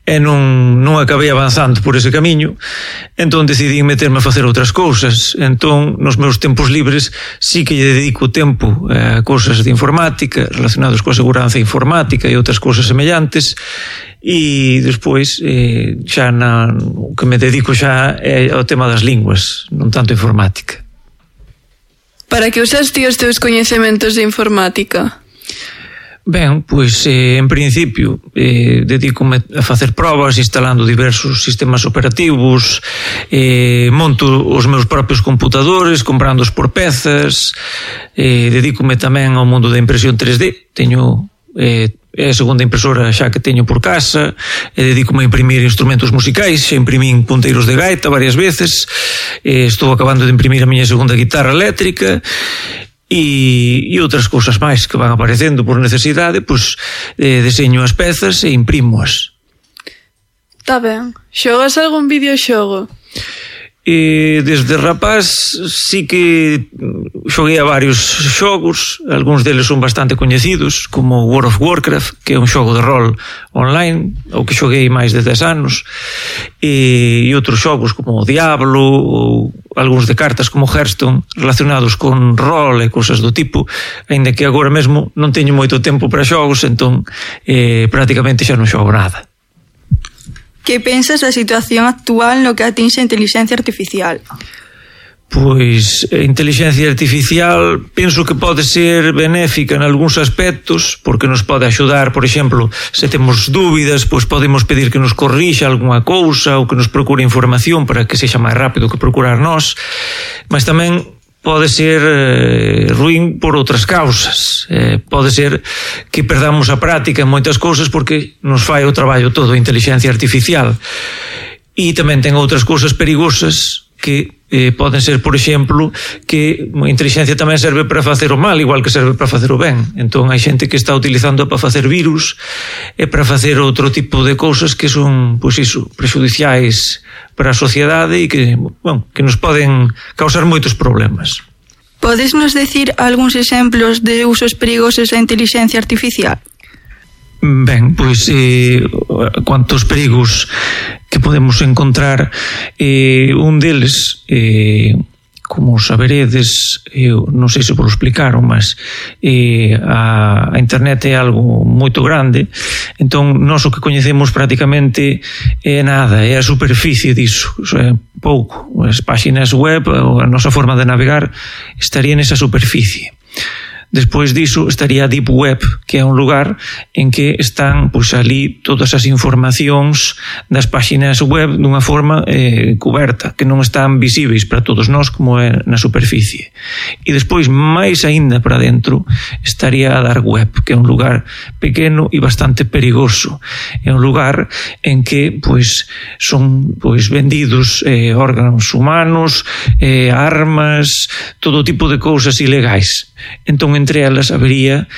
e non acabei avanzando por ese camiño, entón decidí meterme a facer outras cousas. Entón, nos meus tempos libres sí que lle dedico tempo a cousas de informática relacionados coa seguranza informática e outras cousas semellantes, e despois xa o que me dedico xa é ao tema das linguas, non tanto informática. Para que usas ti os teus coñecementos de informática? Ben, pois en principio dedícome a facer probas instalando diversos sistemas operativos, monto os meus propios computadores comprándoos por pezas, dedícome tamén ao mundo da impresión 3D, teño é a segunda impresora xa que teño por casa, dedícome a imprimir instrumentos musicais, xa imprimín punteiros de gaita varias veces, estou acabando de imprimir a miña segunda guitarra eléctrica, e outras cousas máis que van aparecendo por necesidade, pois deseño as pezas e imprimoas. Tá ben. Xogas algún videoxogo? Desde rapaz sí que xoguei a varios xogos, algúns deles son bastante coñecidos, como World of Warcraft, que é un xogo de rol online, o que xoguei máis de 10 anos, e outros xogos como Diablo ou algúns de cartas como Hearthstone, relacionados con rol e cousas do tipo, aínda que agora mesmo non teño moito tempo para xogos, entón prácticamente xa non xogo nada. Que pensas da situación actual no que atinxe a inteligencia artificial? Pois a inteligencia artificial penso que pode ser benéfica en algúns aspectos, porque nos pode axudar, por exemplo, se temos dúbidas, pois podemos pedir que nos corrixa algunha cousa ou que nos procure información para que sexa máis rápido que procurar nós, mas tamén pode ser ruín por outras causas. Pode ser que perdamos a práctica en moitas cousas porque nos fai o traballo todo a inteligencia artificial. E tamén ten outras cousas perigosas que poden ser, por exemplo, que a inteligencia tamén serve para facer o mal, igual que serve para facer o ben. Entón hai xente que está utilizando para facer virus e para facer outro tipo de cousas que son, pois iso, prexudiciais para a sociedade e que nos poden causar moitos problemas. Podes nos decir algúns exemplos de usos perigosos da inteligencia artificial? Ben, pois cuantos perigos que podemos encontrar, un deles, como saberedes, non sei se vos explicaron, mas a internet é algo moito grande, entón nós o que coñecemos prácticamente é nada, é a superficie disso, é pouco. As páxinas web, a nosa forma de navegar estaría nesa superficie. Despois diso estaría a Deep Web, que é un lugar en que están pois ali todas as informacións das páxinas web dunha forma coberta, que non están visíveis para todos nós como é na superficie. E despois, máis aínda para dentro, estaría a Dark Web, que é un lugar pequeno e bastante perigoso. É un lugar en que pois son pois vendidos órganos humanos, armas, todo tipo de cousas ilegais. Entón, entre elas habería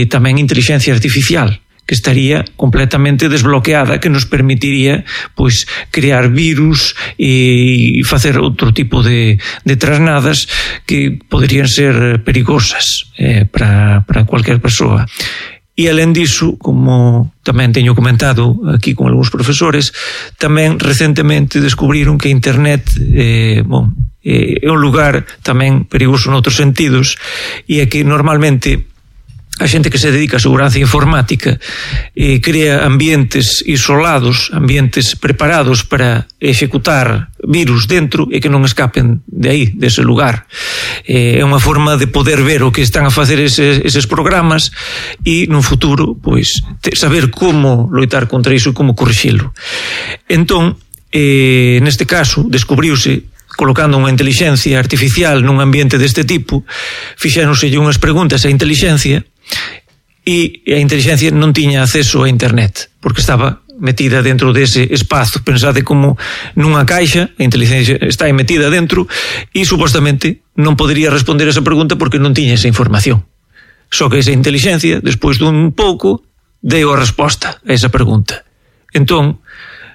tamén inteligencia artificial, que estaría completamente desbloqueada, que nos permitiría pois crear virus e facer outro tipo de trasnadas que poderían ser perigosas para cualquier persoa. E alén diso, como tamén teño comentado aquí con algúns profesores, tamén recentemente descubriron que a internet é un lugar tamén perigoso noutros sentidos, e é que normalmente a xente que se dedica a seguranza informática crea ambientes isolados, ambientes preparados para executar virus dentro e que non escapen de aí, dese lugar. É unha forma de poder ver o que están a facer eses programas e no futuro pois saber como loitar contra iso e como corrixilo. Entón, neste caso, descubriuse colocando unha inteligencia artificial nun ambiente deste tipo, fixéronselle unhas preguntas á inteligencia e a inteligencia non tiña acceso a internet, porque estaba metida dentro dese espazo. Pensade como nunha caixa, a inteligencia está metida dentro e supostamente non podería responder esa pregunta porque non tiña esa información. Só que esa inteligencia, despois dun pouco, deu a resposta a esa pregunta. Entón,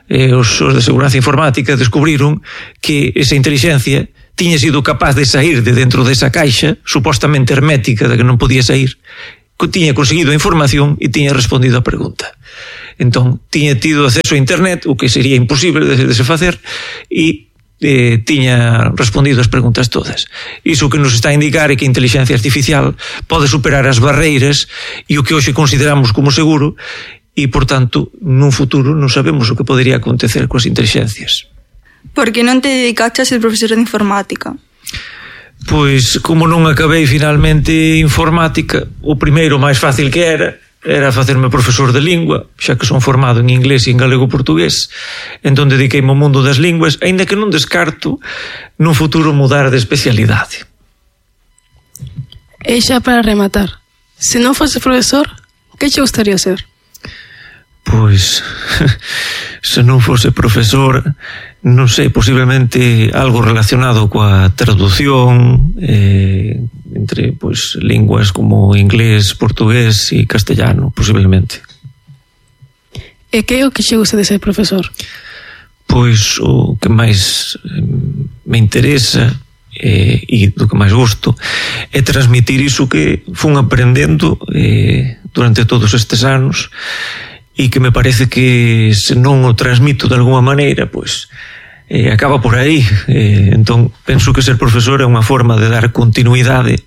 os de seguranza informática descubriron que esa inteligencia tiña sido capaz de sair de dentro desa caixa supostamente hermética da que non podía sair, tiña conseguido a información e tiña respondido a pregunta. Entón, tiña tido acceso a internet, o que sería imposible de se facer, e tiña respondido as preguntas todas. Iso que nos está a indicar é que a inteligencia artificial pode superar as barreiras e o que hoxe consideramos como seguro, e, por tanto, nun futuro non sabemos o que podería acontecer coas inteligencias. Por que non te dedicaste a ser profesor de informática? Pois, como non acabei finalmente informática, o primeiro máis fácil que era facerme profesor de lingua, xa que son formado en inglés e en galego-portugués, entón dediqueime ao mundo das linguas, aínda que non descarto nun futuro mudar de especialidade. E xa para rematar, se non fose profesor, que che gustaría ser? Pois, se non fose profesor, non sei, posiblemente algo relacionado coa traducción entre pois linguas como inglés, portugués e castellano, posiblemente. E que é o que che gusta de ser profesor? Pois o que máis me interesa e do que máis gosto é transmitir iso que fun aprendendo durante todos estes anos, e que me parece que se non o transmito de alguma maneira, pois acaba por aí. Entón, penso que ser profesor é unha forma de dar continuidade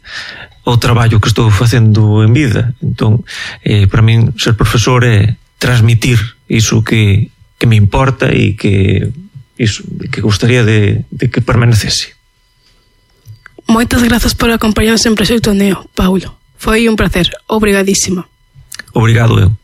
ao traballo que estou facendo en vida. Entón, para min, ser profesor é transmitir iso que me importa e que gostaría de que permanecese. Moitas grazas por acompañarnos en Proxecto Neo, Paulo. Foi un placer. Obrigadísimo. Obrigado eu.